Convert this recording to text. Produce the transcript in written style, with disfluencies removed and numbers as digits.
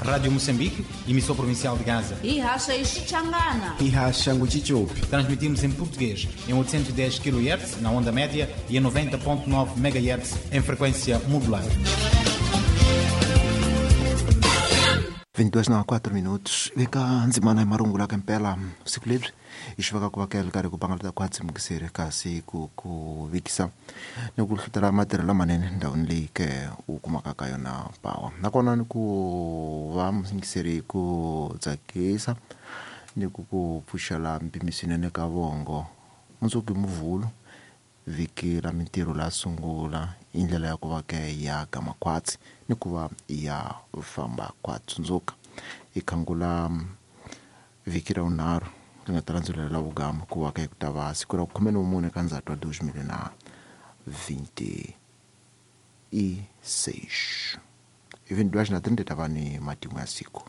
Rádio Moçambique, emissão provincial de Gaza. E racha e Xichangana. E racha Nguchichopi. Transmitimos em português em 810 kHz na onda média e em 90.9 MHz em frequência modulada. 22 na 4 minutos veka ndzimana hi marungula ka mpela siku leri hi xi vaka ku va ka ri ku pangalata khwatsi mukiseri kasi ku ku vikisa ni ku hlutela matirhelo lamanene ndhawini leyi ke u kumaka ka yona pawa nakona ni ku va muyingiseri ku tsakisa ni ku ku pfuxela mpimo swinene ka vongo mundzuku hi muvhulu vhiki ra mintirho la sungula i ndlela ya ku va ke ya ka makhwatsi ni ku va ya famba kwa tsundzuka hi khangula vhiki ra vunharhu ri nga ta landzelela la vugama ku va ke ku ta va siku ra khume ni mune ka ndzhati wa 2026 hi 22 na 30 ta va ni matimu ya siku.